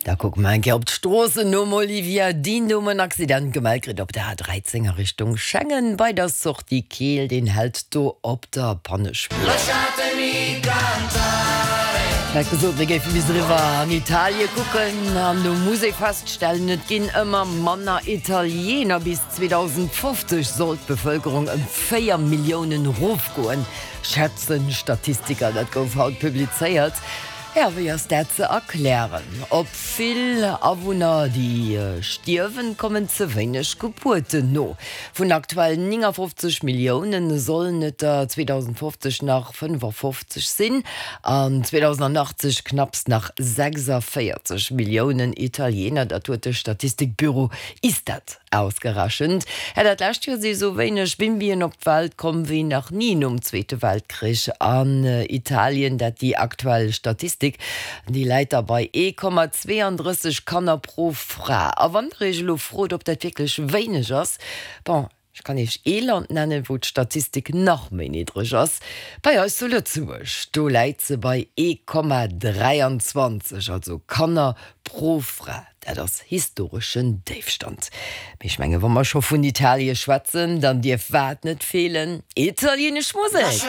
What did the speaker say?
Da kucke mer eng Kéier op d'Stroossen nom Olivia Dean. Do hu mer en Accident gemellt kritt op der A13 a Richtung Schengen bei der Sortie Keel. Deen hält do op der Pannespuer. Ech hat gesot, mir géife bis eriwwer an Italie kucken an do muss ee feststellen, et ginn ëmmer manner Italiener. Bis 2050 soll d'Bevëlkerung ëm 4 Milliounen erofgoen, schätzen Statistiker. Dat gouf haut publizéiert. Ja, wéi ass dat ze erklären? Op vill Awunner, déi stierwen, kommen ze wéineg Gebuerten no. Vun aktuell 59 Milliounen sollen et der 2050 nach 55 sinn an 2080 knapps nach 46 Milliounen Italiener. Dat huet de Statistikbüro Istat Ausgerechent hätt dat lescht Joer si sou wéineg Bimbien op d'Welt komm wéi nach ni nom Zweete Weltkrich an Italien. Dat déi aktuell Statistik, déi läit da bei 1,32 Kanner pro Fra. A wann der iech elo frot, ob dat wierklech wéineg ass, bon, ech kann iech ee Land nennen, wou d'Statistik nach méi niddreg ass, bei eis zu Lëtzebuerg, do läit se bei 1,23, also Kanner pro Fra. Dat ass historeschen Déifstand. Mee ech menge wa mer scho vun Italie schwätzen, dann dierf wat net feelen? Italienesch Musek!